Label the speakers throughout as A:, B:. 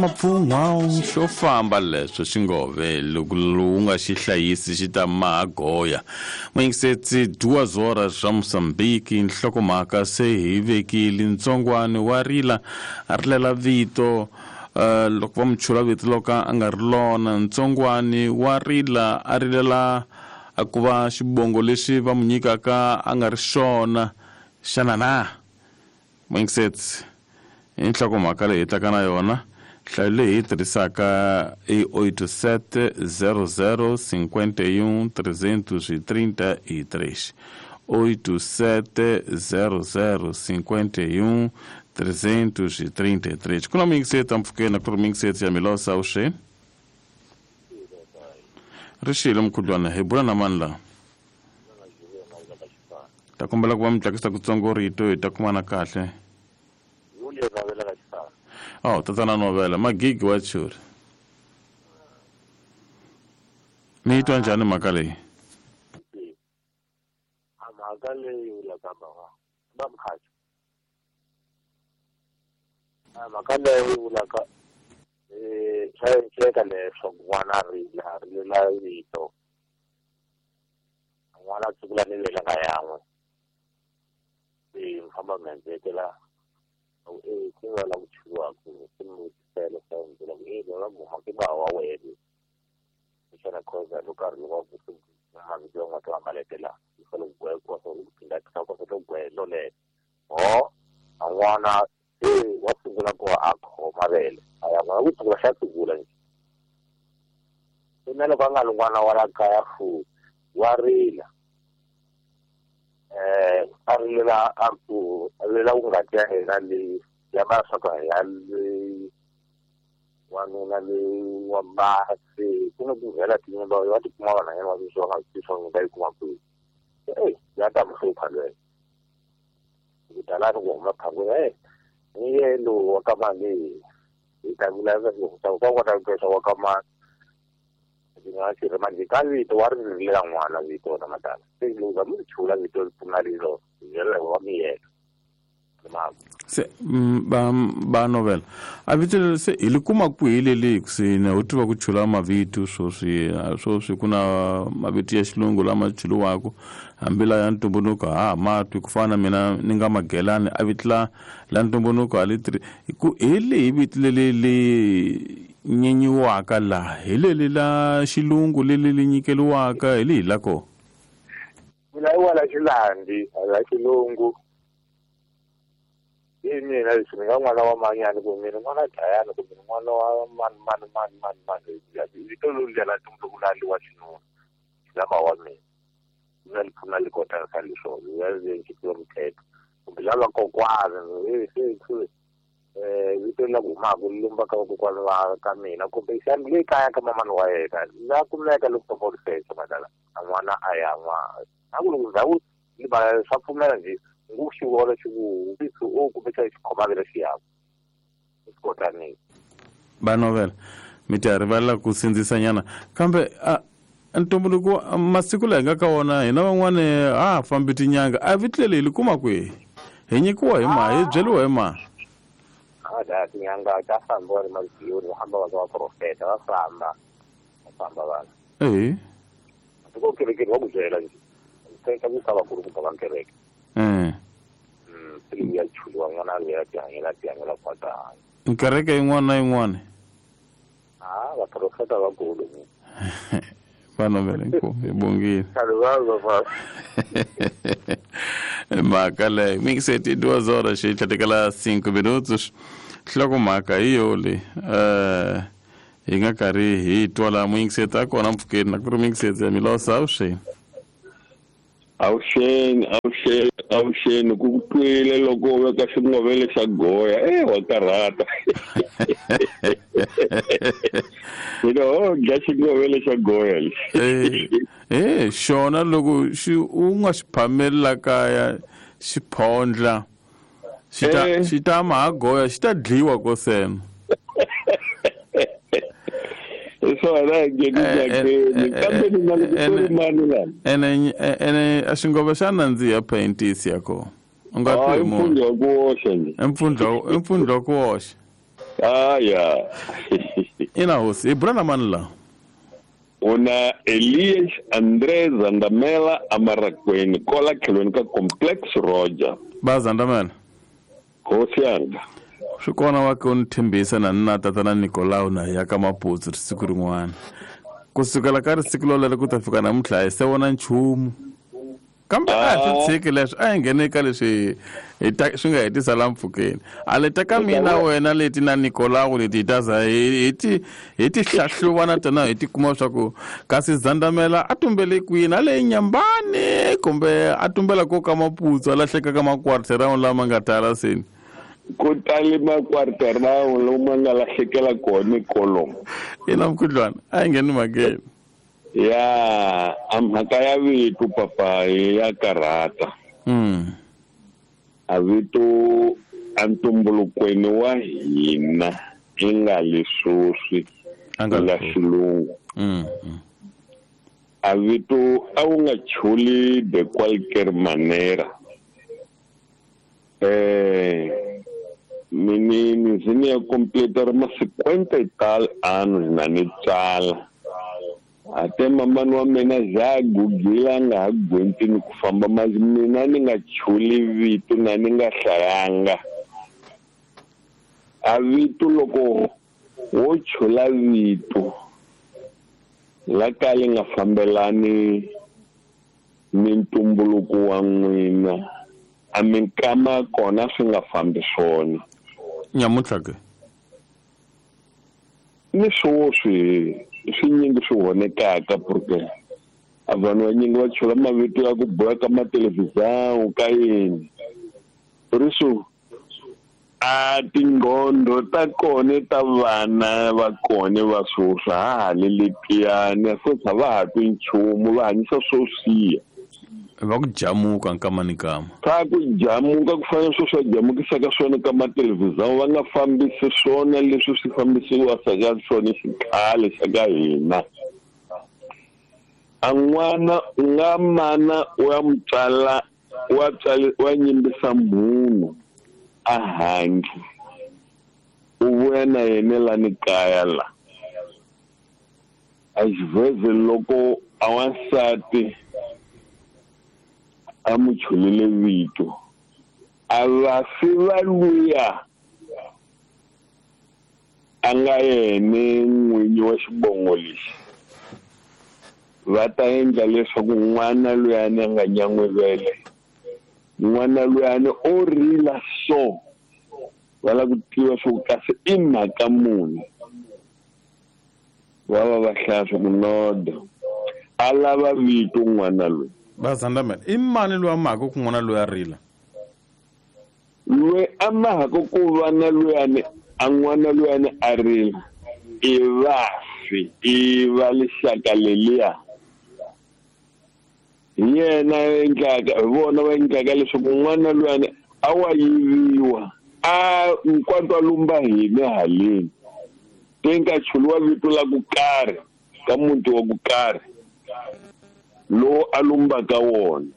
A: Mapfungwa xo famba leswo xingove loko lowu nga xi hlayisi xi ta maha goya. Muyingisetsi duas horas swa Mozambique nhlokomhaka se hi vekile ntsongwani wa rila a rilela vito loko va mu chula vito loka a nga ri lona ntsongwani wa rila a rilela a ku va xibongo lexi va mu nyikaka a nga ri xona xana na Muyingisetsi i nhlokomhaka leyi hi taka na yona nhlayo leyi hi yi tirhisaka i 87 00 51 333 87 00 51 333 ku na muyingisetsi ampfhukeni a ku ri muyingisetsi ya milosa avuxeni ri xile mukhuhlwana hi bula na mani laha ta kombela ku va mi tlakisa kutsongo rito hi ta kumana kahle oh tatana novela magigi wa churi mi yi twa njhani mhaka leyi
B: mhaka leyi vulaka mhaka va mkhaxa mhaka leyi vulaka swa endleka leswaku n'wana a rila a rilela vito n'wana a tsukula ni vele nga yan'we se mi famba mi endlekela e ku nga la ku chuliwaku se mi vutisela swa byela ku e va guma ke ba wa wena xana khoza loko a ri wa ku mavito ya n'wana wa malete la yi fanele ku gwekiwa swa ku phindha ku swa gwelo lelo ho a n'wana se wa sungula ku a khoma vele a ya n'wana ku sungula xa sungula nje se na loko a nga ri n'wana wa la kaya futhi wa rila a rilela a ku a rilela ku ngati ya yena leyi ya va swa ku ya leyi wanuna leyi wa basi ku na ku vhela tinyimba va tikuma vanhwanyana va sweswi va nga swi swa va yi kuma kwihi eyi ya ta mi hlupha lweyo ku talani ku huma phangweni e ni ye lowu wa ka mali hi ta vulavula ku ka kota ku twa wa ka mali ndzi nga xi ri manje ka vito wa ri rilela n'wana vito na madala se loko va mi chula vito ri pfuna lilo byela wa miyela
A: se ba ba novela a vito leri se hi li kuma kwihi leli kusini ho tiva ku chula mavito swoswi swoswi ku na mavito ya xilungu lama chuliwaka hambi la ya ntumbuluko ha ha ma twi ku fana na mina ni nga magelani a vito la la ntumbuluko a li tirhi ku hi lihi vito leli li nyenyiwaka laha hi leli la xilungu leli li nyikeliwaka hi lihi la kona
B: mina i wala xilandi la xilungu hi mina leswi ni nga n'wana wa manyani kumbe mina n'wana dlayani kumbe n'wana wa mani mani mani mani mani vito loluya la ntumbuluko la li wa xinuna lama wa mina na li pfuna li kota ka leswo ya le muthetho kumbe lava kokwana se vito la ku humaka li lumba ka vakokwana va ka mina kumbe xana le kaya ka mamani wa yena la kumeka loko famba u secha madala a n'wana a ya n'wana na ku loko ndhawu libala swa pfumela nje ngu xi vona xi ku u kumbe xa xi khoma xi yaku swi kotanile
A: va novela mi ta rivalela ku sindzisanyana kambe a ntumbuluko masiku laha hi nga ka wona hina van'wani ha ha fambi tinyanga a vito leri hi li kuma kwihi hi nyikiwa hi ma hi byeriwa hi ma
B: a tinyanga ta famba va ri maziyoni va hamba va ka vaprofeta va famba va famba vanhu
A: ehe
B: tiko kerekeni va ku byela nje teka ku ka vakulukumba va kereke se ya chuliwa n'wana a ya tihanyela tihanyela kwata hanya
A: kereke yin'wana na yin'wana
B: a vaprofeta vakulu
A: va novela inkomu hi bongile mhaka leyo mingiseti 2 horas xi tlhatekela 5 minutos nhlokomhaka hi yo leyi hi nga karhi hi twa laha muyingiseti a kona mpfhukeni na ku ri muyingiseti ya milosa avuxeni
C: avuxeni avuxeni avuxeni ku ku twile loko u veka xingovele xa goya e wa karhata mina ho dya xingovele xa goya
A: lexi e xona loko xi u nga xi phameli la kaya xi phondla xi ta xi ta maha goya xi ta dliwa kosena
C: hi swona ngeni kambe ni na loko ku ri mani lana
A: ene ene a xingove xa nandziha paintisi ya kona u nga twi
C: munhu mpfundla wa ku oxa nje
A: i mpfundla i mpfundla wa ku oxa
C: Aya.
A: Ina hosi, hi bula na mani la?
C: Una Elias André Zandamela Amarakweni kola tlhelweni ka Complex Roger.
A: Ba Zandamela.
C: Hosi yanga.
A: Swi kona wa ke u ni tshembisa na ni na tatana Nicolau na ya ka Maputsu siku rin'wana. Ku sukela ka risiku lolero ku ta fika namuntlha hi se vona nchumu. Kambe a hi swi tshiki leswi, a hi nghene ka leswi hi ta swi nga hetisa la mpfhukeni. A leta ka mina wena leti na Nicolau leti hi ta za hi ti hi ti hlahluva na tona hi ti kuma swa ku kasi Zandamela a tumbele kwini, a le Nyambani kumbe a tumbela ko ka Maputsu a lahleka ka makwarterround lama nga tala seni.
C: Ku tali makwarterround lomu nga lahlekela kona kolomo.
A: Ina mukhuhlwana a yi ngheni mhakeni.
C: Ya, a mhaka ya vito papa ya karhata. A vito a ntumbulukweni wa hina i nga leswoswi nga xilungu. A vito a wu nga chuli de qualquer manera. Mini ni ya completar ma 50 y tal anos na ni tsala. Ate mamani wa mina za gugila nga ha gwentini ku famba mas mina ni nga chuli vito na ni nga hlayanga. A vito loko wo chula vito la ka li nga fambelani ni ntumbuluko wa n'wina a minkama kona swi nga fambi swona.
A: Nyamuntlha ke?
C: Ni swoswi swi nyingi swi vonekaka porque a vanhu vanyingi va chula mavito ya ku boha ka mathelevhizão ka yini. Por isso a tingqondo ta kona ta vana va kona va swoswi ha ha le letiyani futhi a va ha twi nchumu va hanyisa swo siya.
A: Va ku jamuka nkama ni kama.
C: Va ku jamuka ku fana swo swa jamukisaka swona ka mathelevhizão va nga fambisi swona leswi swi fambisiwaka ka swona xikhale xa ka hina. A n'wana u nga mana u ya mutswala wa tswala wa nyimbisa munhu a handle u vuya na yena lani kaya la. A xivheze loko a wansati a mu chulile vito a va fi va luya a nga yena n'winyi wa xibongo lexi va ta endla leswaku n'wana luyani a nga nyan'wivele n'wana luyani o rila so va lava ku tiva swa ku kasi i mhaka muni va va va hlaya swa ku noda a lava vito n'wana loyi.
A: Ba Zandamela, i mani loyi a mahaka ku n'wana loyi a rila?
C: Loyi a mahaka ku va na luyani a n'wana luyani a rila i vafi i va lixaka leliya. Hi yena endlaka hi vona va endlaka leswaku n'wana luyani a wa yiviwa a nkwantwa lumba hina haleni te nga chuliwa vito la ku karhi ka muti wa ku karhi lowu a lumbaka wona.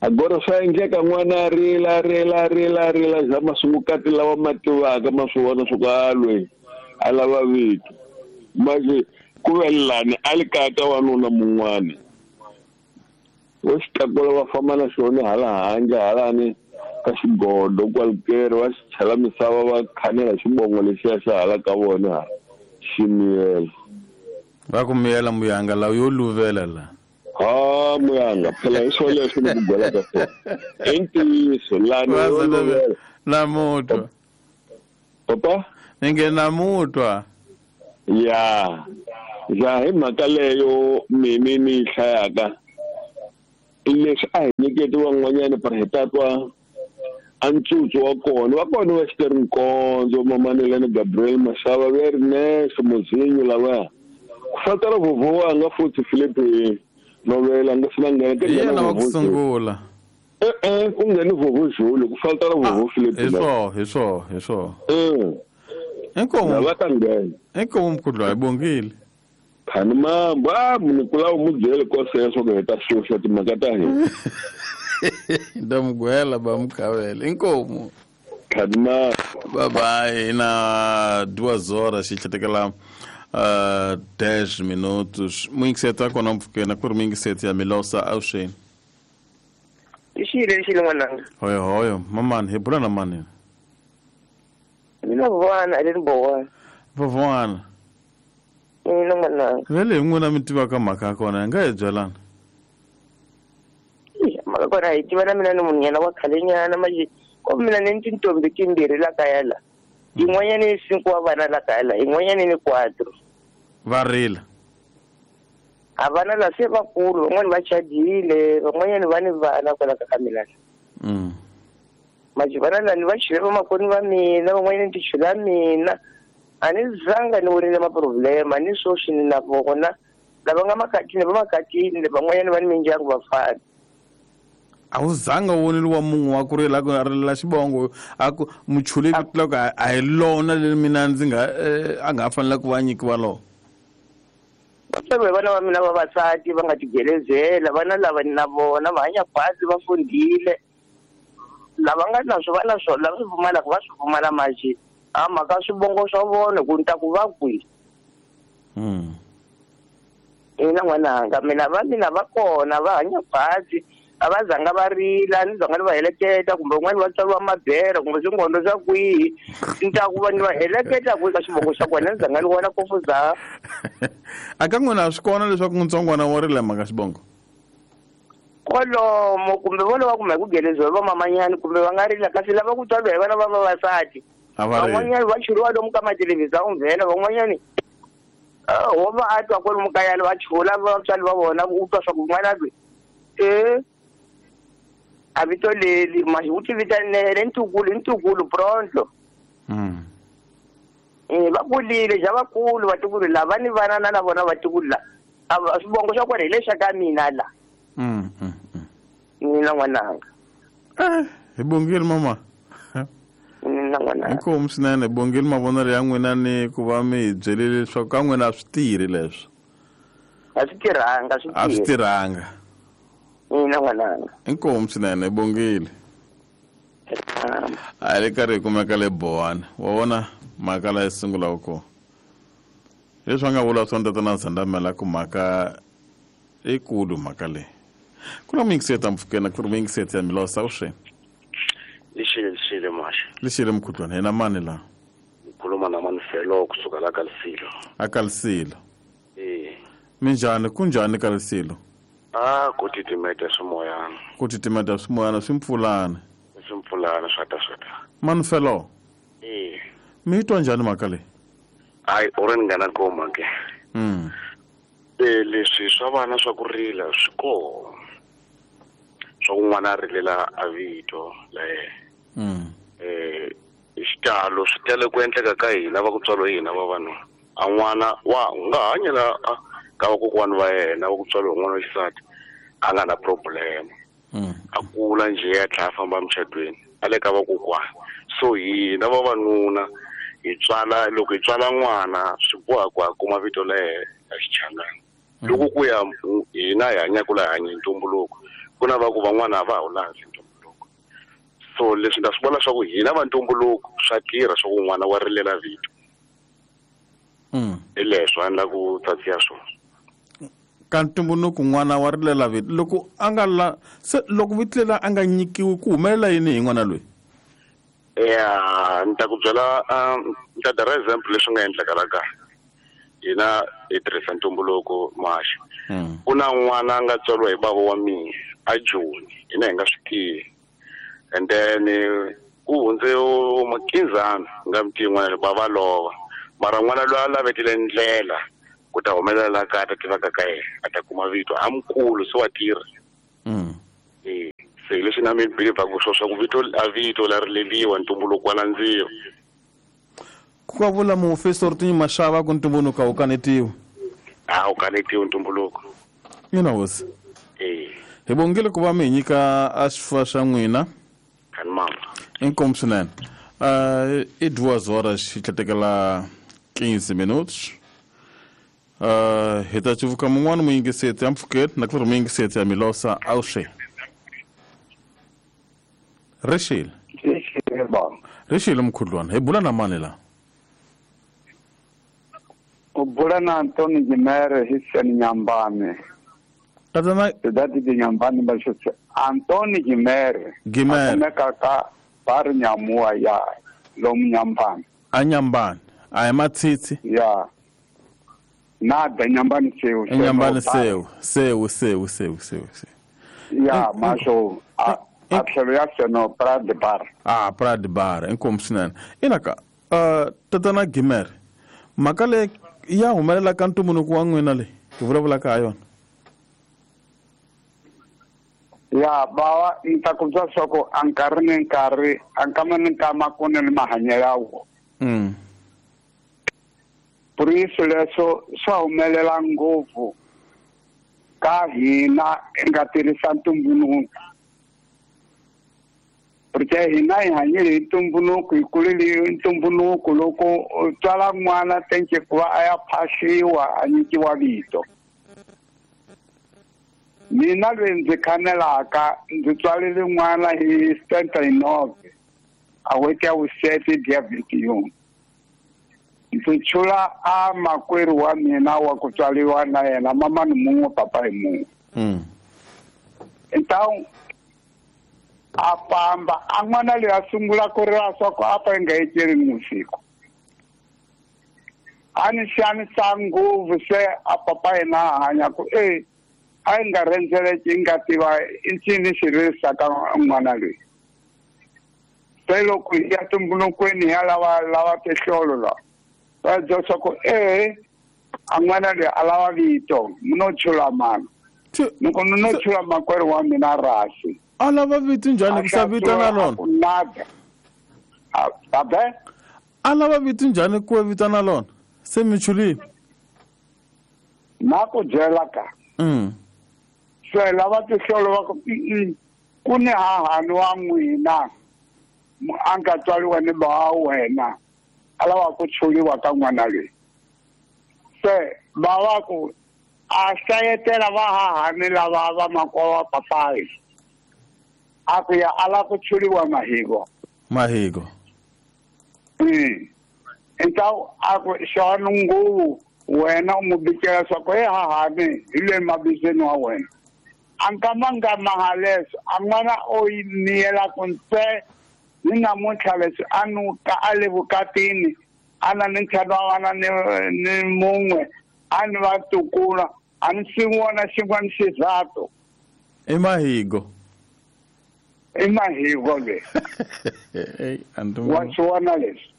C: Agora swa endleka n'wana a rila rila rila rila za masungukati lawa ma tivaka ma swi vona swa ku a loyi a lava vito manje ku ve lani a li kaya ka wanuna mun'wana wo xi tlakula va famba na xona hala handle halani ka xigodo kwalukeri va xi chela misava va khanela xibongo lexiya xa hala ka vona hala xi miyela.
A: Va ku miyela muyanga lawa yo luvela la.
C: Ha muyanga phela hi swo leswi ni ku gwelaka swona. I ntiyiso lani yo luvela.
A: Namutwa.
C: Papa?
A: Ni nge namutwa.
C: Ya. Ya hi mhaka leyo mimi ni yi hlayaka leswi a hi nyiketi van'wanyana par hi ta twa a ntsutsu wa kona va kona va Xitere Nkondzo Mamanelani Gabriel Mashava va Ernesto Mozinho lavaya. Ku fatela vovho wanga futhi Philippe Novela nga sina nghena
A: ka yena wa ku sungula.
C: Ku ngheni vovho Julu ku fatela vovho Philippe.
A: Hi swo. Inkomo
C: va ta nghena.
A: Inkomo mkhudlwa hi bongile.
C: Khani mambo a munhu ku lava mu byele ko sweswo ku hi ta xuxa timhaka ta hina.
A: Ndamugwela ba mukhavela inkomo.
C: Khanima.
A: Bye bye. Na 2 horas xitlhetekela 10 minutos. Muyingiseti a kona mpfhukeni ku ri muyingiseti ya Milosa avuxeni.
D: Lixile lixile n'wananga.
A: Hoyo hoyo mamani, hi bula na mani?
D: Mina vana a le ni bowana.
A: Vavwana.
D: Mina n'wananga.
A: Vele hi n'wina mi tivaka mhaka ya kona, hi nga hi byelana.
D: Mhaka kona hi tiva na mina ni munhu wa khalenyana manje ko mina ni tintombi timbirhi la kaya la. Yin'wanyana i cinco wa vana la kaya la, yin'wanyana ni quatro.
A: Va rila?
D: A vana la se vakulu, van'wani va chadile, van'wanyana va ni vana kwala ka mina. Manje vana la ni va chule vamakweni va mina, van'wanyana ni ti chula mina. A ni zanga ni vonile maproblema ni sweswi ni na vona lava nga makatini va makatini, van'wanyana va ni mindyangu vafana.
A: A wu zanga u vonile wa munhu wa ku rila a ku a rilela xivongo, a ku muchule vito la ku a hi lona leri mina ndzi nga a nga ha fanela ku va nyikiwa lona?
D: Vatswari vana va mina vavasati va nga tigelezela, vana lava ni na vona va hanya khwatsi, va fundile. Lava nga na swo va na swona, lava swi pfumalaka va swi pfumala manje a mhaka swivongo swa vona ku ni ta ku va kwihi. Ina n'wananga, mina va mina va kona va hanya khwatsi, a va zanga va rila, ni zanga ni va heleketa kumbe un'wana va tswariwa mabere kumbe swingondo swa kwihi, ni ta ku va ni va heleketa kwihi ka xivongo xa kona, ni zanga ni vona kofu za.
A: A ka n'wina a swi kona leswaku ntsongwana wa rila mhaka xivongo?
D: Kwalomo kumbe vo lava kumbe ku geleziwa hi vamamanyani kumbe va nga rila, kasi lava ku tswariwa hi vana va vavasati
A: a va rili.
D: Van'wanyani va churiwa lomu ka mathelevhizani vhela, van'wanyani wo va a twa kwalomu kaya va chula vatswari va vona, u twa swa ku n'wana loyi e a vito leli manje u ti vitanele ntukulu ntukulu pronto. Va kulile ja vakulu vatukulu lava ni vana na na vona vatukulu la a swivongo swa kona hi lexa ka mina la. Mina n'wananga.
A: Hi bongile mama.
D: Mina n'wananga.
A: Inkomu swinene, hi bongile mavonelo ya n'wina ni ku va mi hi byelile leswaku ka n'wina a swi tirhi leswo.
D: A swi tirhanga swi.
A: A swi
D: tirhi.
A: Tirhanga.
D: Mina n'wananga.
A: Inkomu swinene, hi bongile. A hi le karhi hi kumeka le Bowani wa vona mhaka laha yi sungulaka kona, leswi a nga vula swona tatana Zandamela ku mhaka ikulu mhaka leyi ku na muyingiseti ampfukeni ku ri muyingiseti ya Milosa avuxeni.
E: Lixile lixile maxa.
A: Lixile mukhuhlwana, hina mani laha?
E: Ngikhuluma na Manfelo kusuka la kaLisilo.
A: A kaLisilo.
E: Eh.
A: Minjhani, kunjhani kaLisilo?
E: Ah, ku titimeta swimoyana.
A: Ku titimeta swimoyana swi mpfulana.
E: Swimpfulana swata swata.
A: Manfelo.
E: Eh.
A: Mi yi twa njhani mhaka leyi?
E: Hayi, u ri ni nga na goma ke. Leswi swa vana swa ku rila swi koho. Swa ku n'wana a rilela a vito la yena. Hi xitalo swi tele ku endleka ka hina va ku tswariwa hina vavanuna. A n'wana wa u nga hanyela ka vakokwani va yena va ku tswariwa n'wana wa xisati a nga na problem. A kula njhe a tlhela a famba emucatweni a le ka vakokwani, so hina vavanuna hi tswala, loko hi tswala n'wana swi boha ku a kuma vito la yena ya xichangani. Loko ku ya hina hi hanyaka laha hi hanya hi ntumbuluko, ku na va ku van'wana a va ha wu landzi ntumbuluko, so leswi ni ta swi vona swa ku hina va ntumbuluko swa tirha swa ku n'wana wa rilela vito. Hi leswo a ni la ku tsatsiya swona.
A: Ka ntumbuluko n'wana wa rilela vito loko a nga la se loko vito leri a nga nyikiwi ku humelela yini hi n'wana loyi?
E: Ya, ni ta ku byela, ni ta dara example leswi nga endleka la kaya. Hina hi tirhisa ntumbuluko maxa. Ku na n'wana a nga tswariwa hi bava wa mina a Joni, hina hi nga swi tivi, and then ku hundze makinzana nga mi tivi n'wana bava lova, mara n'wana loyi a lavetile ndlela ku ta humelela la kaya, a ta tivaka ka yena, a ta kuma vito a mukulu se wa tirha. Se hi leswi na mi believaku swo swa ku vito a vito la rileliwa, ntumbuluko wa landziwa.
A: Ku ka vula muofisiri tinyi maxava ku ntumbuluko a wu kanetiwi.
E: A wu kanetiwi ntumbuluko.
A: Ina hosi.
E: Eh.
A: Hi bongile ku va mi hi nyika a xifuva xa n'wina.
E: Kani mama.
A: Inkomu swinene. I 2 horas xi tlhetekela 15 minutos. Hi ta civuka mun'wana muyingiseti ampfhukeni na ku ri muyingiseti ya Milosa avuxeni, rixile. Ri xile mukhuhlwana hi bula na mani la?
F: U bula na Antoni Gimere hi Seni Nyambane.
A: Tatana
F: Cidade de Nyambane Baxose. Antoni Gimere.
A: Gimere.
F: A kumeka ka Bar Nyamua ya lomu Nyambane.
A: A Nyambane. A hi Matsitsi.
F: Ya. Nada Nyambane seu.
A: Nyambane seu. Seu seu seu seu seu.
F: Ya, masho a tlhelo ya seno Prade Bar.
A: Ah, Prade Bar, inkomu swinene. Ina ka tatana Gimere. Mhaka leyi ya humelela ka ntumbuluko wa n'wina leyi hi vulavulaka ha yona.
F: Ya bawa ni ta ku bya swa ku a nkarhi ni nkarhi a nkama ni nkama ku ni mahanyelo ya wona. Por isso leswo swa humelela ngopfu ka hina hi nga tirhisa ntumbuluko. Porque hina hi hanyile hi ntumbuluko, hi kulile hi ntumbuluko. Loko u tswala n'wana tenke ku va a ya phahliwa a nyikiwa vito. Mina loyi ndzi khanelaka ndzi tswalile n'wana hi 79 a n'hweti ya vusete dia 21. Ndzi chula a makwerhu wa mina wa ku tswaliwa na yena mamani mun'we papa hi mun'we. Então a famba a n'wana loyi a sungula ku rila swa ku a fa yi nga etleli ni vusiku. A ni xanisa ngopfu se a papa yena a hanya ku e a yi nga rhendzeleki yi nga tiva i ncini xi ririsaka n'wana loyi. Se loko hi ya tumbulukweni hi ya lava tihlolo la va byela swa ku e a n'wana loyi a lava vito mi no chula mani. Loko ni no chula makwerhu wa mina rasi.
A: A lava vito njhani ku sa vito na lona?
F: Nada. Abe?
A: A lava vito njhani ku vito na lona? Se mi chulile.
F: Na ku byela ka. Se lava tihlolo va ku ku ni hahani wa n'wina a nga tswariwa ni ba wa wena a lava ku chuliwa ka n'wana loyi. Se va va ku a hlayetela va hahani lava va makwa wa papayi. A ku ya a lava ku chuliwa Mahigo.
A: Mahigo.
F: Então a ku xona nguvu wena u n'wi bikela swa ku he hahani hi le mabizweni wa wena. A nkama nga maha leswo a n'wana o yi miyela ku ntse ni namuntlha leswi a nuka a le vukatini a na ni ntlhanu wa vana ni mun'we a ni va tukula a ni swi vona xin'wana xizathu.
A: I Mahigo.
F: I Mahigo le. Wa swi vona leswi.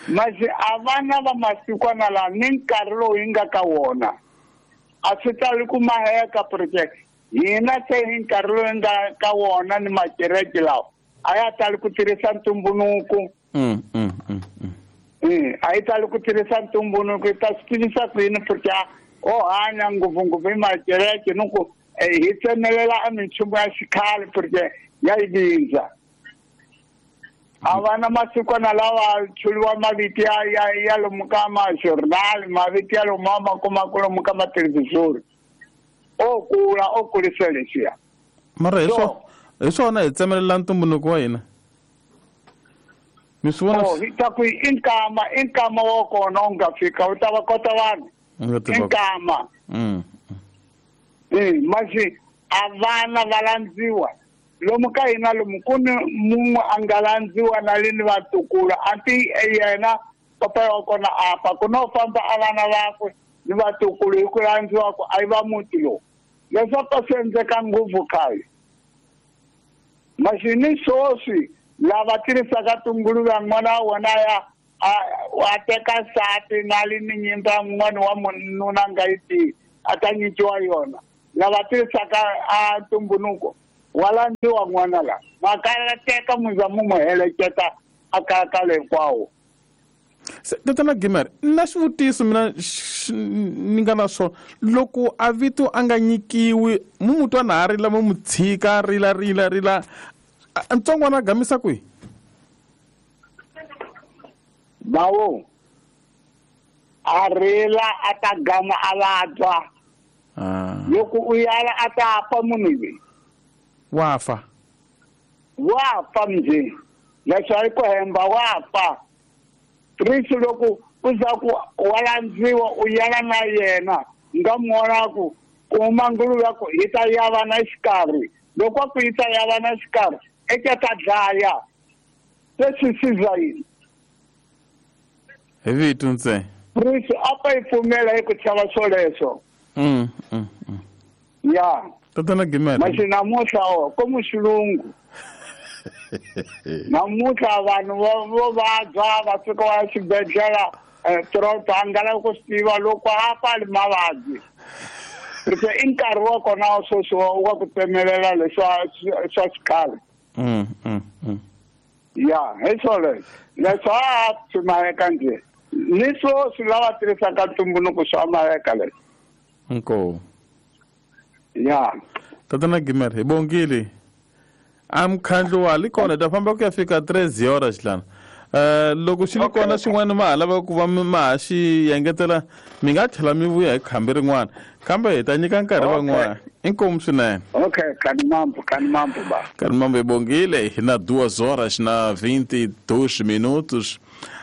F: Masi a vana va masikwana laha ni nkarhi lowu hi nga ka wona a swi tali ku maheka porque hina se hi nkarhi lowu hi nga ka wona ni makereke lawa a ya tali ku tirhisa ntumbuluko. A yi tali ku tirhisa ntumbuluko hi ta swi tivisa ku yini porque o hanya ngopfungopfu hi makereke ni ku hi tsemelela a minchumu ya xikhale porque ya yi vindza. A vana masikwana lawa chuliwa mavito ya lomu ka ma-journal mavito ya lomu ma kumaka lomu ka mathelevhizori. O kula o kulisa leswiya.
A: Mara hi swona hi tsemelela ntumbuluko wa hina. Mi swi vona?
F: Hi ta ku i nkama wa kona u nga fika u ta va kota vanhu. I nkama. Masi a vana va landziwa. Lomu ka hina lomu ku ni mun'we a nga landziwa na le ni vatukulu a ti yena papa wa kona apa ku no famba a vana vakwe ni vatukulu hi ku landziwa ku a yi va muti lowu. Leswaku swi endleka ngopfu khale. Masi ni sweswi lava tirhisaka tinguluve n'wana wa wona ya a teka nsati na le ni nyimba n'wana wa mununa a nga yi tivi a ta nyikiwa yona. Lava tirhisaka a ntumbuluko wa landziwa n'wana la ma teka muza mu n'wi heleketa a kaya le hinkwawo.
A: Tatana Gimere, na xivutiso mina ni nga na swona loko a vito a nga nyikiwi mu mu twa na ha rila mu mu tshika rila rila rila ntsongwana a gamisa kwihi?
F: Bawo a rila a ta gama a vabya. Loko u yala a ta fa munhu loyi.
A: Wa fa.
F: Wa fa mzee. Leswi a yi ku hemba wa fa. Risi loko u za ku wa landziwa u yala na yena nga muona ku kuma nguluve ya ku yi ta yava na xikarhi. Loko a ku yi ta yava na xikarhi eka ta dlaya. Leswi swi za yini?
A: Hi vito ntsena.
F: Risi a pa yi pfumela hi ku chava swoleswo. Ya.
A: Tatana Gimere.
F: Masi namuntlha ko muxilungu. Namuntlha vanhu vo vabya va fika va xibedhlele trota a nga lavi ku swi tiva loko a pfali mavabyi. Ri i nkarhi wa kona wa sweswi wa ku tsemelela leswa swa xikhale. Ya, hi swoleswo. Leswi a swi maheka njhe. Ni sweswi lava tirhisaka ntumbuluko swa maheka leswi.
A: Inkomu.
F: Ya.
A: Tatana Gimere, hi bongile. A mukhandlu wa li kona ta famba ku ya fika 3 horas lana. Loko xi li kona xin'wana ma ha lava ku va ma ha xi engetela mi nga tlhela mi vuya hi khambi rin'wana kambe hi ta nyika nkarhi van'wana. Inkomu swinene.
F: Okay, kanimambo ba.
A: Kanimambo hi bongile hi na 2 horas na 22 minutos.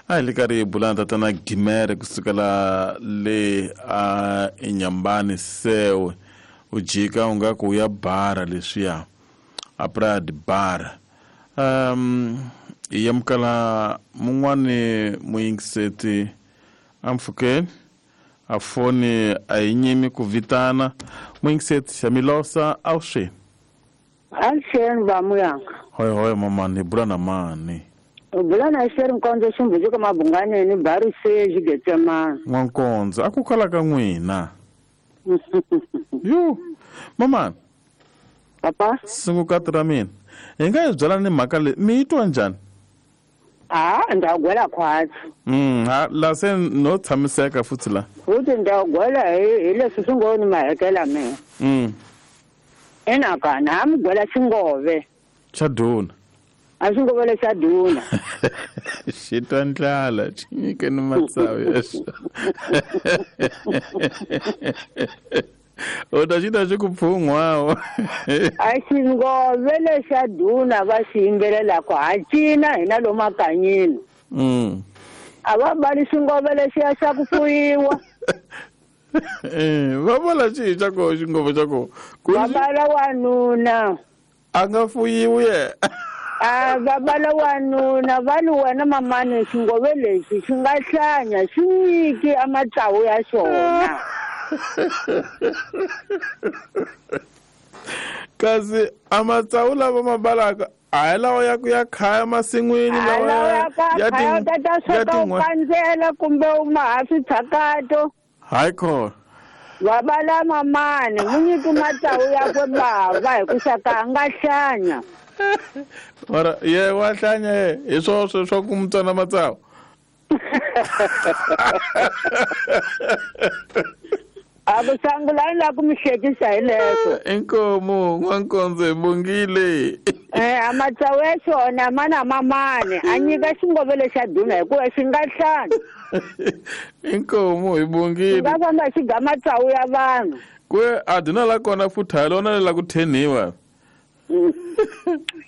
A: A hi le karhi hi bula na Tatana Gimere kusukela le a eNyambani Sewe. U jika u nga ku ya bara leswiya. A Praia de Bar. Hi amukela mun'wani muyingiseti ampfhukeni a foni a yi nyimi ku vitana muyingiseti xa Milosa awuxeni.
G: Avuxeni va muyanga.
A: Hoy hoy mamani hi bula na mani.
G: U bula na Xeri Nkondzo Ximbudzi ka Mabunganeni Barise Xigetsemani.
A: N'wankondzo a ku kala ka n'wina. Yu mamani.
G: Papa?
A: Sungukati ra mina. Hi nga yi byela ni mhaka leyi mi yi twa njhani?
G: A ndza gwela khwatsi.
A: Ha la se no tshamiseka futhi la.
G: Futhi ndza gwela hi leswi swi ngo ni mahekela mina. Ina ka na mi gwela xingove.
A: Xa duna.
G: A xingove le xa duna.
A: Xi twa ndlala xi nyike ni matsavu ya xona. U ta xi ta xi ku pfun'wawo.
G: A xingove lexa duna va xi yimbelelaka ha cina hina lomu makanyini. A va bali xingove lexiya xa ku fuyiwa.
A: Va vula xihi xa koho xingove xa koho?
G: Va bala wanuna.
A: A nga fuyiwi ye.
G: A va bala wanuna va li wena mamani xingove lexi xi nga hlanya xi nyiki a matsavu ya xona.
A: Kasi a matsavu lava ma balaka a hi lawa ya ku ya khaya masin'wini lawa
G: ya ta sweka u kandzela kumbe u ma ha switshakato.
A: Hayi khona.
G: Va bala mamani mu nyiki matsavu yakwe bava hi ku xaka a nga hlanya.
A: Mara ye wa hlanya ye hi swoswo swa ku mu tsona matsavu.
G: A ku sangulani la ku mi hlekisa hi leswo.
A: Inkomu N'wankondzo hi bongile.
G: A matsavu ya xona ma na mamani a nyika xingove lexa duna hikuva xi nga hlanya.
A: Inkomu hi bongile.
G: Xi nga famba xi ga matsavu ya vanhu.
A: Kwe a duna la kona futhi ha lona le la ku thenhiwa.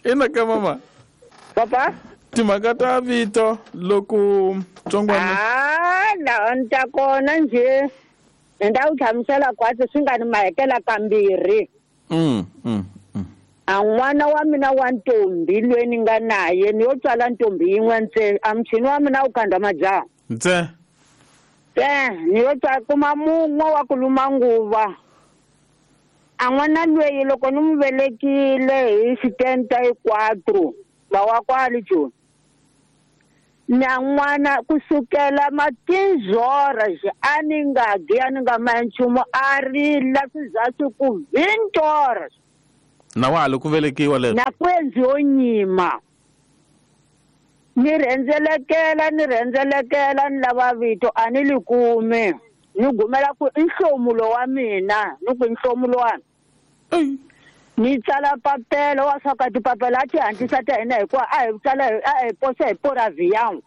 A: Ina ka mama.
G: Papa?
A: Timhaka ta vito loko tsongwana.
G: La ni ta kona njhe. Ni ta ku hlamusela khwatsi swi nga ni mahekela kambirhi. A n'wana wa mina wa ntombi loyi ni nga naye ni yo tswala ntombi yin'we ntsena a muchini wa mina wu khandza majaha.
A: Ntsena?
G: Ni yo tswala kuma mun'we wa ku luma nguva. A n'wana loyi loko ni n'wi velekile hi 74 va wa kwale Joni. Na n'wana kusukela matinzora a ni nga dyi a ni nga ma nchumu a rila swi za swi ku 20
A: Na wa ha li ku velekiwa leswo?
G: Na ku endliwo nyima. Ni rhendzelekela ni lava vito a ni li kumi. Ni gumela ku i nhlomulo wa mina ni ku i nhlomulo wa Ni tsala papelo wa swa ka tipapela a ti hatlisa ta hina hikuva a hi tsala a hi posa hi poraviyawu.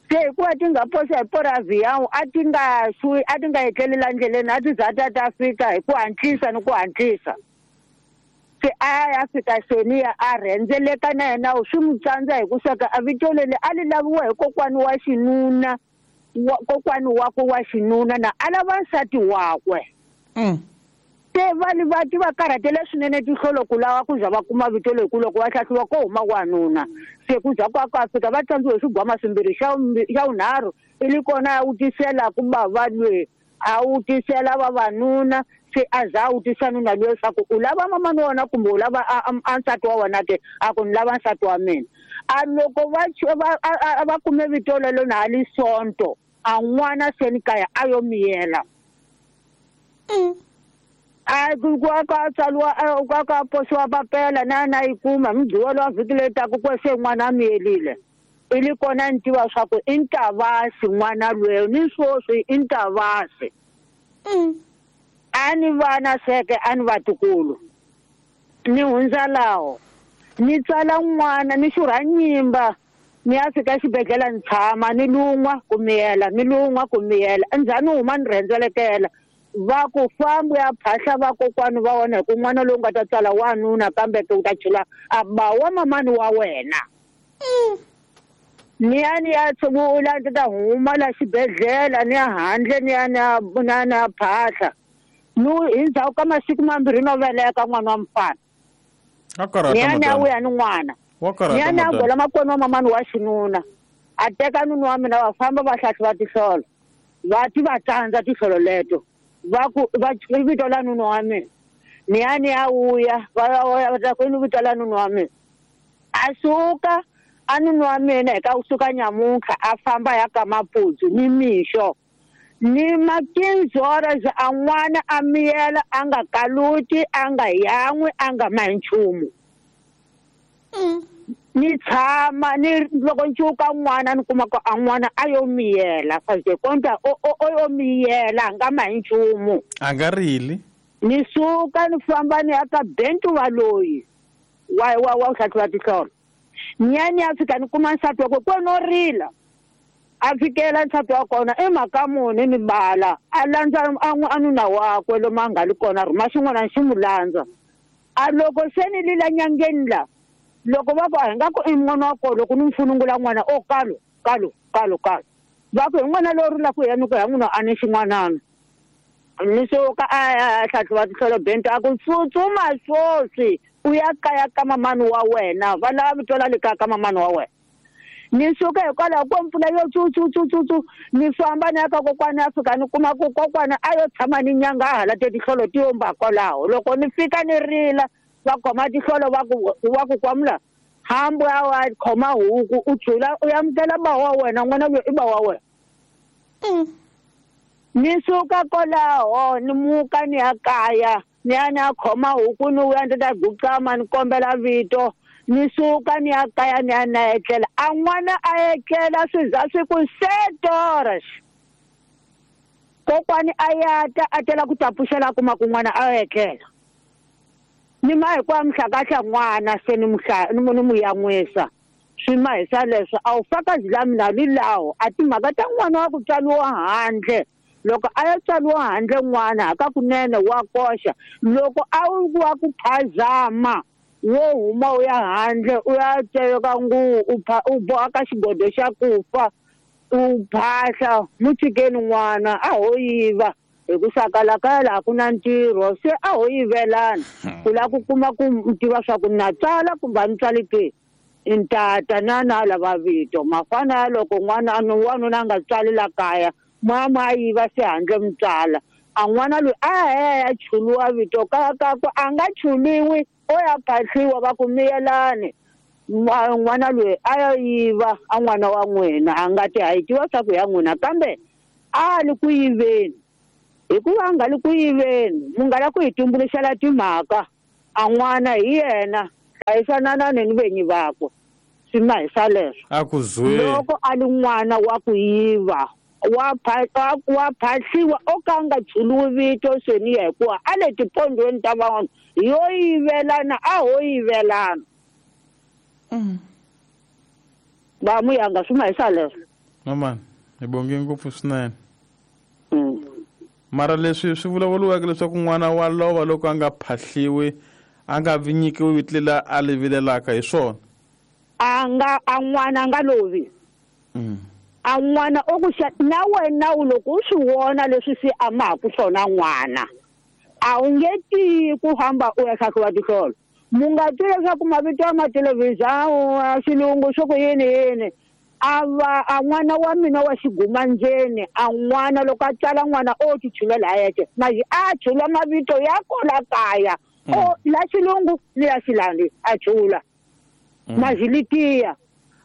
G: Se hikuva ti nga posa hi poraviyawu a ti nga xwi a ti nga etleli la ndleleni a ti za ta ta fika hi ku hatlisa ni ku hatlisa. Se a ya fika seniya a rhendzeleka na yena swi n'wi tsandza hi ku saka a vito leri a li laviwa hi kokwani wa xinuna kokwani wakwe wa xinuna na a lava nsati wakwe. Se vanhu va ti va karhatele swinene tihlolo ku lava ku za va kuma vito leri ku loko va hlahliwa ko huma wanuna. Se ku za ku a fika va tsandziwe hi swigwama swimbirhi xa vunharhu i li kona a wutisela ku bava lwe a wutisela vavanuna se a za a wutisa nuna luya leswaku u lava mamani wa wena kumbe u lava a nsati wa wena ke a ku ni lava nsati wa mina. A loko va kume vito lelo na li sonto a n'wana se ni kaya a yo miyela. A ku ka tsaliwa ka ka posiwa papela na yi kuma mugqivela wa vhiki leyi taka ku se n'wana a miyelile. I li kona ni tiva swa ku i Ntavasi n'wana lweyo ni swoswi i Ntavasi. A ni vana seke a ni vatukulu ni hundza laho ni tsala n'wana ni xurha nyimba ni ya fika xibedhlele ni tshama ni lun'wa ku miyela ni lun'wa ku miyela endzhaku ni huma ni rhendzelekela va ku fambi ya phahla vakokwani va wena hi ku n'wana lowu nga ta tsala wanuna kambe ke u ta chela a ba wa mamani wa wena. Ni ya ni ya tshungula ni ta huma la xibedhlele ni ya handle ni ya ni ya phahla no hi ndzhaku ka masiku mambirhi no veleka n'wana wa mufana. Ni ya ni ya vuya ni n'wana ni ya ni ya gola makwenu wa mamani wa xinuna a teka nuna wa mina va famba va hlahluva tihlolo va ti va tsandza tihlolo leto va ku va vito la nuna wa mina ni ya ni ya vuya va ta ku vito la nuna wa mina a suka a nuna wa mina hi ka kusuka nyamuntlha a famba ya ka maputsu ni mixo ni makinzora a n'wana a miyela a nga kaluti a nga yan'wi a nga mahi nchumu. Ni tshama ni loko ncuka n'wana ni kuma ku a n'wana a yo miyela fase konta o yo miyela a nga mahi nchumu
A: a nga rili.
G: Ni suka ni famba ni ya ka Bentu wa loyi wa wa wa hlahluva tihlolo ni ya ni ya fika ni kuma nsati wakwe ko no rila a fikela nsati wa kona i mhaka muni ni bala a landza a nuna wakwe lomu a nga li kona rhuma xin'wana xi n'wi landza. A loko se ni lila nyangeni la loko va ku a hi nga ku i n'wana wa kona loko ni n'wi funungula n'wana o kalo kalo kalo kalo va ku hi n'wana lowu rilaka hi yena ku ya n'wina a ni xin'wanana ni suka a hlahluva tihlolo Bento a ku tsutsuma swoswi u ya kaya ka mamani wa wena va lava vito la le kaya ka mamani wa wena. Ni suka hikwalaho ko mpfula yo tsutsutsutsutsu ni famba ni ya ka kokwana ya fika ni kuma ku kokwana a yo tshama ni nyanga a hala tihlolo ti yomba kwalaho loko ni fika ni rila va khoma tihlolo va ku kwamula hambi a wa khoma huku u tshula u amukela ba wa wena n'wana loyi i ba wa wena. Ni suka kwalaho ni muka ni ya kaya ni ya ni ya khoma huku ni vuya ni ta guqama ni kombela vito ni suka ni ya kaya ni ya na etlela a n'wana a etlela swi za swi ku 7 kokwani a ya ta a tela ku ta pfuxela a kuma ku n'wana a etlela ni ma hi ku a muhlakahla n'wana se ni ni yan'wisa swi mahisa leswo a wu fakazi la mina li laho a timhaka ta n'wana wa ku tswariwa handle loko a ya tswariwa handle n'wana hakakunene wa koxa loko a wu wa ku phazama wo huma u ya handle u ya teka nguvu u boha ka xigodo xa ku fa u phahla mu tshikeni n'wana a ho yiva hi ku saka kaya laha ku na ntirho se a ho yivelana ku lava ku kuma ku tiva swa ku na tsala kumbe a ni tsali ke i ntata na na lava vito mafana ya loko n'wana wanuna a nga tswali la kaya mama a yiva se handle mi tsala a n'wana loyi a ya chuluwa vito ka ku a nga chuliwi o ya phahliwa va ku miyelani n'wana loyi a ya yiva a n'wana wa n'wina a nga ti ha yi tiva swa ku ya n'wina kambe a li ku yiveni hikuva a nga li ku yiveni mu nga la ku hi tumbuluxela timhaka a n'wana hi yena hlayisananani ni venyi vakwe swi mahisa leswo
A: a ku zwe
G: loko a li n'wana wa ku yiva wa phahliwa o ka a nga chuluwi vito seniya hikuva a le tipondweni ta van'wana yo yivelana a ho yivelana. Va muyanga swi mahisa leswo
A: mamani hi bonge ngopfu swinene. Mara leswi swi vulavuriweke leswaku n'wana wa lova loko a nga phahliwi a nga vi nyikiwi vito lela a li vilelaka hi swona.
G: A nga a n'wana a nga lovi. A n'wana o ku na wena u loko u swi vona leswi se a mahaku swona n'wana a wu nge tiyi ku hamba u ya hlahluva tihlolo. Mu nga twi leswaku mavito ya mathelevhizha xilungu swo ku yini yini. A va a n'wana wa mina wa xigumandzeni a n'wana loko a tsala n'wana o ti chulela a yexe maji a chula mavito ya kola kaya o la xilungu ni la xilandi a chula maji litiya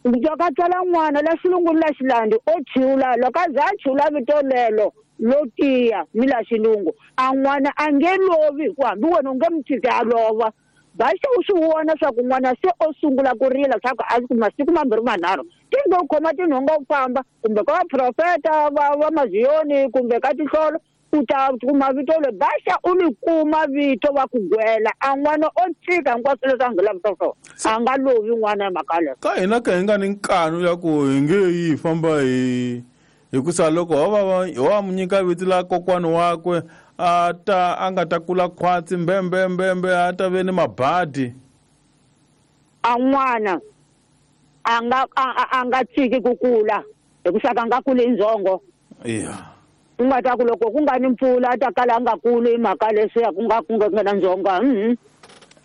G: loko a tsala n'wana la xilungu ni la xilandi o chula loko a za a chula vito lelo lo tiya ni la xilungu a n'wana a nge lovi hikuva hambi wena u nge mi tshiki a lova. Baxa u swi vona swa ku n'wana se o sungula ku rila swa ku a ku masiku mambirhi manharhu ti ngo khoma tinhonga u famba kumbe ka vaprofeta va maziyoni kumbe ka tihlolo u ta kuma vito leri baxa u li kuma vito va ku gwela a n'wana o tshika hinkwaswo leswi a nga lavisa swona a nga lovi n'wana hi mhaka leyo.
A: Ka hina ka hi nga ni nkanu ya ku hi nge yi famba hi hikusa loko ho va mu nyika vito la kokwani wakwe a ta a nga ta kula khwatsi mbembe a ta ve ni mabadi.
G: A n'wana a nga tshiki ku kula hikusa ka nga kuli ndzhongo.
A: Yeah.
G: Ku nga ta ku loko ku nga ni mpfula a ta kala a nga kuli hi mhaka leswiya ku nga na ndzhongo.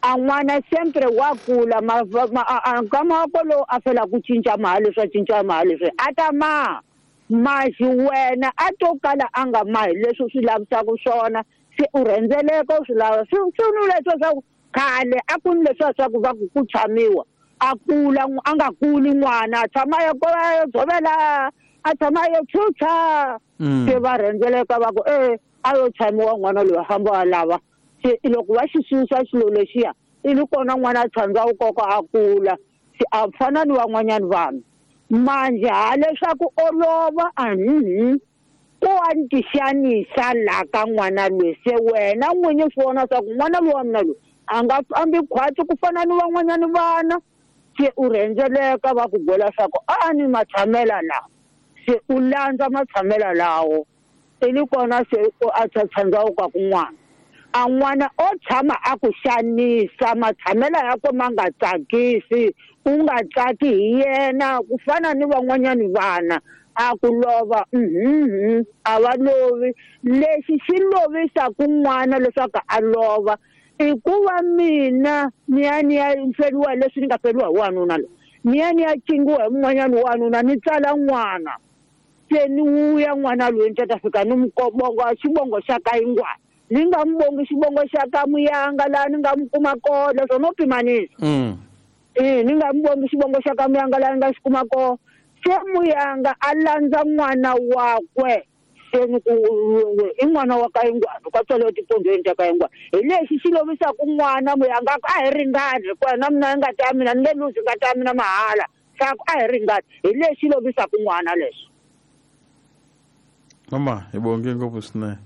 G: A n'wana sempre wa kula nkama wa kolowo a fela ku cinca maha leswi a cinca maha leswi a ta maha. Maji wena a to kala a nga mahi leswi u swi lavisaka swona se u rhendzeleka u swi lava swi nu leswi swa ku khale a ku ni leswiya swa ku va ku tshamiwa a kula a nga kuli n'wana a tshama ya yo dzovela a tshama yo chucha se va rhendzeleka va ku a yo tshamiwa n'wana loyi a famba a lava se loko va xi susa xilo lexiya i li kona n'wana a tshandza wu koko a kula se a fana ni van'wanyani vanhu. Manje ha leswaku olova ku wa ni tixanisa laha ka n'wana loyi se wena n'winyi swi vona swa ku n'wana loyi wa mina loyi a nga fambi khwatsi ku fana ni van'wanyani vana se u rhendzeleka va ku gwela swa ku a ni matshamela lawa se u landza matshamela lawo i li kona se a tshandza wu ka ku n'wana a n'wana o tshama a ku xanisa matshamela ya ko ma nga tsakisi u nga tsaki hi yena ku fana ni van'wanyani vana a ku lova a va lovi. Lexi xi lovisaka n'wana leswaku a lova i ku va mina ni ya feriwa leswi ni nga feriwa hi wanuna loyi ni ya cingiwa hi mun'wanyani wanuna ni tsala n'wana se ni wuya n'wana loyi ni ta fika ni mukobongo xivongo xa ka yingwana ni nga mi bongi xivongo xa ka Muyanga laha ni nga mi kuma kona leswo no pimanisa. Ni nga mi bongi xivongo xa ka Muyanga laha ni nga xi kuma kona se Muyanga a landza n'wana wakwe se ni ku i n'wana wa ka Yingwana ka tswariwa etipondweni ta ka Yingwana hi lexi xi lovisaka n'wana Muyanga a hi ringani hikuva na mina ngati ya mina ni nge luzi ngati ya mina mahala swa ku a hi ringani hi lexi lovisaka n'wana leswi.
A: Mama hi bonge ngopfu swinene.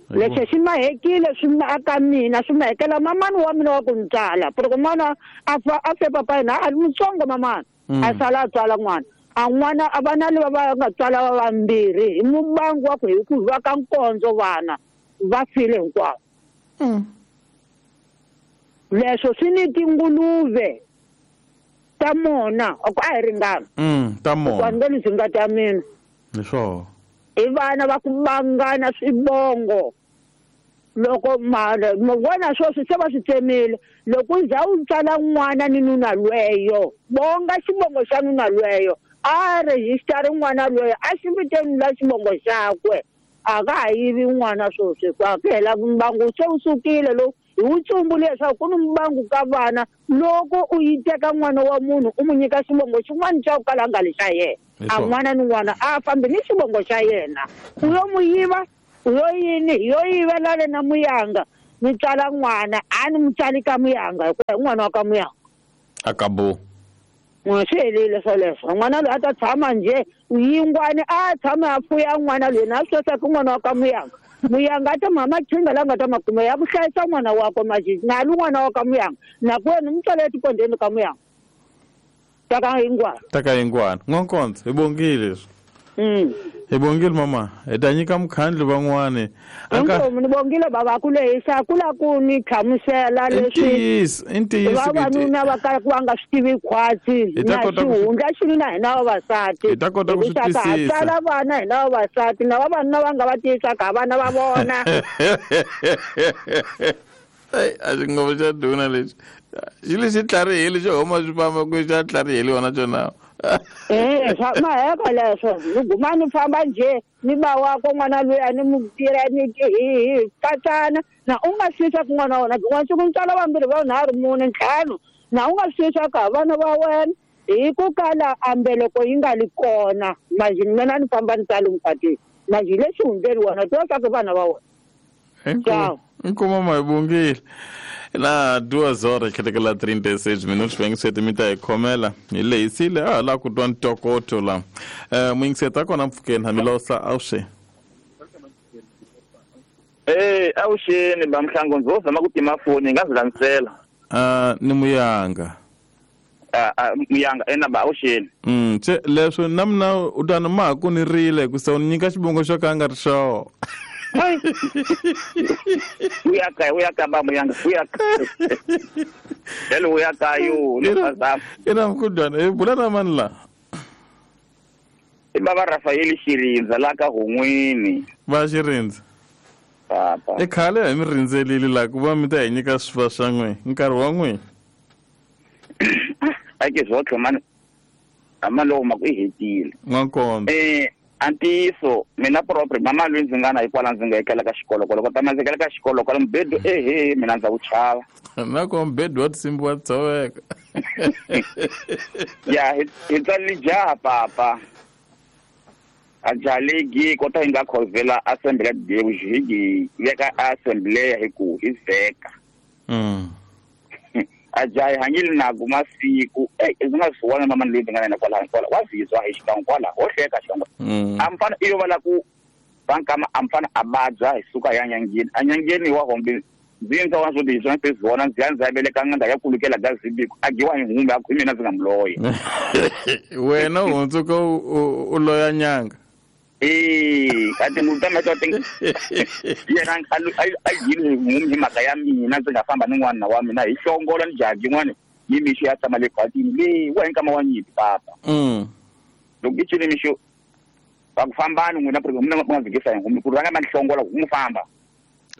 G: Leswi swi mahekile swi aka mina swi mahekela mamani wa mina wa ku ni tsala loko n'wana a fe papa yena a ri mutsongo mamani a sala a tswala n'wana a n'wana a vana lava va nga tswala va vambirhi hi mubangu wa ku hi ku va ka nkondzo vana va file hinkwavo. Leswo swi ni tinguluve ta mona a ku a hi ringana
A: ta mona
G: ku ni nge ngati ya mina
A: hi swona
G: i vana va ku vangana swivongo loko mara vona sweswi se va swi tsemile loko u za u tsala n'wana ni nuna lweyo bonga xivongo xa nuna lweyo a rejistari n'wana lweyo a xi viteni la xivongo xakwe a ka ha yivi n'wana sweswi hikuva ku hela mbangu se wu sukile lowu hi wu tsumbule leswaku ku ni mbangu ka vana loko u yi teka n'wana wa munhu u n'wi nyika xivongo xin'wana xa ku kala a nga li xa yena a n'wana ni n'wana a fambi ni xivongo xa yena u yo n'wi yiva u yo yini hi yo yivela le na Muyanga ni tswala n'wana a ni n'wi tsali ka Muyanga hikuva hi n'wana wa ka Muyanga
A: a ka bo
G: n'wana swi helile swoleswo n'wana loyi a ta tshama njhe yingwani a tshama a fuya n'wana loyi na swi tiva ku n'wana wa ka Muyanga Muyanga a ta mama chinga la nga ta makuma ya ku hlayisa n'wana wakwe maji na lu n'wana wa ka Muyanga na ku wena mi tswala etipondweni ka Muyanga ta ka Yingwana
A: ta ka Yingwana n'wankondzo hi bongile leswi. Hi bongile mama, hi ta nyika mukhandlu van'wani.
G: Inkomu ni bongile baba ku lehisa ku la ku ni hlamusela leswi.
A: I ntiyiso.
G: Vavanuna va kala ku va nga swi tivi khwatsi na xihundla xi na hina vavasati.
A: Hi ta kota ku swi twisisa.
G: Tsala vana hina vavasati na vavanuna va nga va tiyisaka vana va vona.
A: Ai, a xi ngopfu xa duna lexi. Xi lexi tlharihile xo huma swi famba ku xa tlharihile wona xona.
G: Maheka leswo ni guma ni famba njhe ni ba wakwe n'wana loyi a ni mu tirha ni hi katsana na u nga swi swa ku n'wana wa wena n'wana siku ntswalo vambirhi va nharhu mune ntlhanu na u nga swi swa ku vana va wena hi ku kala a mbeleko yi nga li kona manje mina ni famba ni tsala mukatini manje lexi hundzeni wena tiva swa ku vana va wena.
A: Inkomu mama, hi bongile. Na 2:36 minutos mi ta hi khomela hi lehisile a ha la ku twa ntokoto la. Muyingiseti kona mpfhukeni hamilosa awuxe.
H: Awuxeni ba Mhlango, ndzo zama ku tima foni nga zilanisela.
A: Ni Muyanga.
H: Muyanga ena ba awuxeni.
A: Che leswo na mina u ta ni ma ku ni rile ku se u nyika xivongo xo ka nga ri xona.
H: Uyaka ba Muyanga, uyaka. Hello uyaka yo, ni pasam.
A: Ina mkudwana, bula na mani la.
H: I baba Rafael Xirindza la ka Hon'wini.
A: Va Xirindza.
H: Papa.
A: I khale hi mi rindzelile la ku va mi ta hi nyika swifa swa n'we, nkarhi wa n'we.
H: A ke zwotlhe mani. Amaloko ma ku i hetile.
A: N'wankombe.
H: Antiso mina propre mama loyi ndzi nga na hikwalaho ndzi nga ekela ka xikolo loko tama ndzi ekela ka xikolo kwala mubedo ehe mina ndza wu chava
A: na ko mubedo wa tinsimbi wa tshoveka.
H: Ya hi tsalile jaha papa a jaha leyi kota hi nga khovela assembly ya Deus hi veka assembly hi ku hi veka. A jaha hi hanyile na ku masiku ndzi nga swi vona mama loyi ndzi nga na yena kwalaho kwala wa zizwa hi xikan'we kwala ho hleka xikan'we. A mfana i yo va la ku vankama a mfana a vabya hi suka ya nyangeni a nyangeni wa hombe ndzi ndza wa swo tiswa ndzi vona ndzi ya ndzi ya veleka nganda ya kulukela ga zibiko a giwa hi humbe a ku mina ndzi nga muloya.
A: Wena u hundzuka u loya nyanga.
H: Kati mutama to ting yena a yini hi mhaka ya mina ndzi nga famba ni n'wana wa mina hi hlongola ni jaji n'wana ni mixo ya tshama le khwatini le wa hinkama wa nyimpi papa. Loko i cile mixo va ku fambani n'wina mina nga vikisa hi ngumi ku rhanga ma ni hlongola ku n'wi famba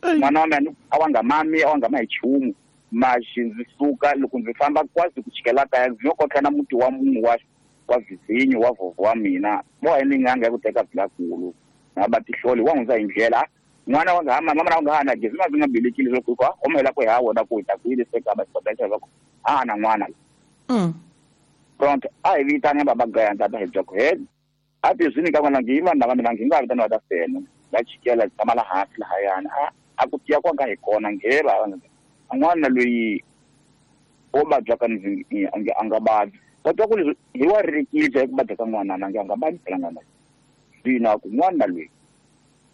H: n'wana wa mina a wa nga mami a wa nga ma hi nchumu maxi ndzi suka loko ndzi famba kwasi ku chikela kaya ndzi yo kotlana muti wa munhu wa vizinyo wa vhovho wa mina mo hi ni nganga ya ku teka bilakulu na ba tihloli wa hundza hi ndlela n'wana wa nga mama na nga hana gezi ma ndzi nga belekile loko ku omela ku ha wona ku ta ku yile se ka ba xibedhlele va ku a na n'wana. Pronto a hi vitana baba gaya tata hi bya ku he a ti swi nyika n'wana ngi vanhu lava mina ngi nga vitana va ta fena va chikela tshama la hansi lahayana a ku tiya kwa nga hi kona ngheva n'wana loyi o vabya ka ndzi a nga vabyi. Kodwa ku hi wa ririkile ku vabya ka n'wana na nga vabyi phela n'wana zwino ku n'wana loyi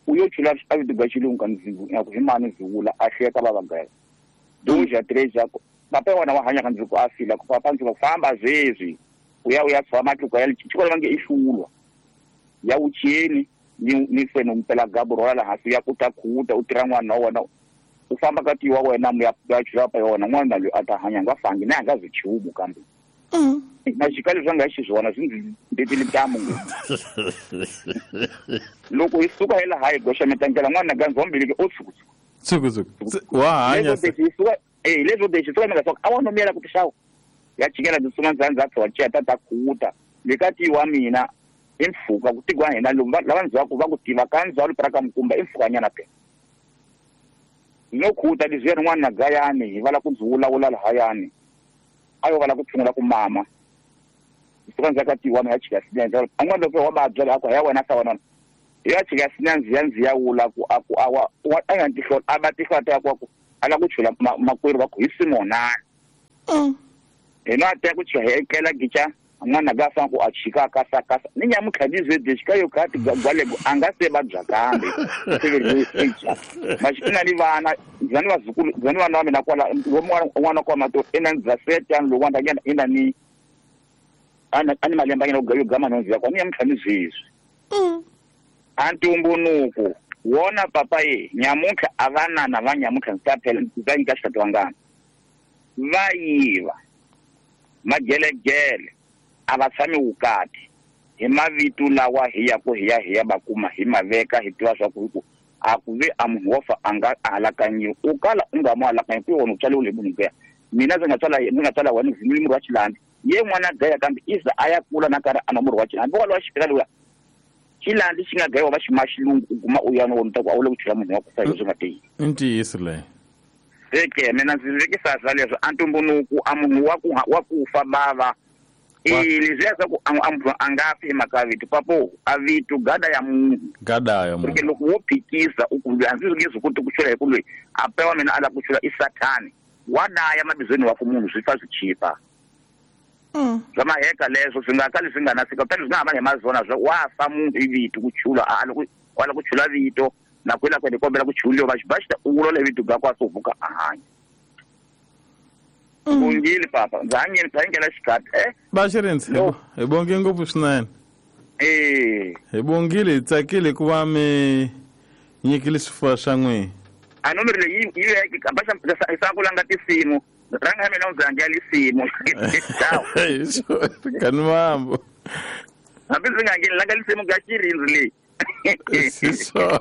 H: u yo chula a vito ga xilungu ka ndzi ya ku hi mani ndzi vula a hleka va vagaya doja treja papa wena wa hanya ka ndzi ku a fila ku papa ndzi ku famba zwezwi u ya tshama matluka ya xikolo va nge i hlulwa ya wucheni ni fena mpela gaburo la hansi ya ku ta khuta u tirha n'wana wa wena u famba ka tiwa wena mu ya chula pa yona n'wana loyi a ta hanya nga fangi na nga zwi chumu kambe. Na xikalo swa nga xiswona swi ndzi ndetile ntamu ngopfu. Loko hi suka hi laha hi goxa mitangela n'wana ga ndzombiliki o tshuku
A: tshuku wa hanya
H: leswo lexi suka mi nga a wa nomela ku tixawa ya chikela ndzi suma ndza ndza tshwa ta khuta le ka tiwa mina i mpfhuka ku tigwa hina lava ndzhaku va ku tiva ka ndzhawu pra ka Mukumba i mpfhukanyana phela no khuta leswiya rin'wana na gayani hi vala ku ndzi vulavula lahayani a yo vala ku tshungula ku mama suka ndzi ka tiwa ya chika sinenze an'wana loko wa vabya la ku ya wena sa wena ya chika sinenze ya ndzi ya wula ku a ku a wa a nga tihlola a va tihlola ta ku a la ku chula makwerhu va ku hi Simona hina ta ku chela ekela gicha n'wana ga fa ku a chika ka sa ka ni nyamu khadizwe dishika yo ka ti gwale a nga se vabya kambe mashina ni vana zani vazukulu zani vana wa mina kwala n'wana kwa mato ina ndza setani loko wanda ina ni ana ani malemba yena yo gama nonzi yakwa ni nyamu khadizwe. A ntumbunuku wona papa ye nyamuntlha a vanana va nyamuntlha ndzi ta phela ndzi ta nyika xikati wa ngana va yiva magelegele a va tshami vukati hi mavito lawa hi ya ku hi ya va kuma hi maveka hi tiva swa ku hi ku a ku ve a munhu wo fa a nga alakanyiwi u kala u nga mu alakanyi ku yona u tswaliwile hi munhu kuya mina ndzi nga tswala wena vhimile murhi wa xilandi ye n'wana gaya kambe iza a ya kula na karhi a nwa murhi wa xilandi walowa xi fika luya xilandi xi nga gayiwa va xi ma xilungu u guma u ya no wona ta ku a wu le ku chela munhu wa ku fa hi swi nga tiyi
A: i ntiyiso leyo
H: se ke mina ndzi vekisa swa leswo a ntumbunuku a munhu wa ku fa bava leswiya swa ku a munhu a nga fi hi mhaka ya vito papo a vito gada ya munhu
A: gada ya munhu
H: loko wo phikisa u ku a ndzi nge swi koti ku chula hi ku loyi a pewa mina a lava ku chula i sathani wa daya mabizweni wa ku munhu swi fa swi chipa swa maheka leswo swi nga kali swi nga na fika kutani swi nga hambani hi mazona swa wa fa munhu i vito ku chula a la ku chula vito na ku ila ku kombela ku chuliwa va xi u vulola vito ga kwa so vuka a hanya bongile papa ndza hanyela xikati
A: va Xirindzi hi bonge ngopfu swinene hi bongile hi tsakile ku va mi nyikile swifuwo swa n'wina
H: a nomero leyi yi veke sa ku langa tinsimu ranga ya mina ndzi hangela lisimu
A: kani mambo
H: hambi ndzi nga hangeli langa lisimu ka Xirindzi leyi
A: siswona.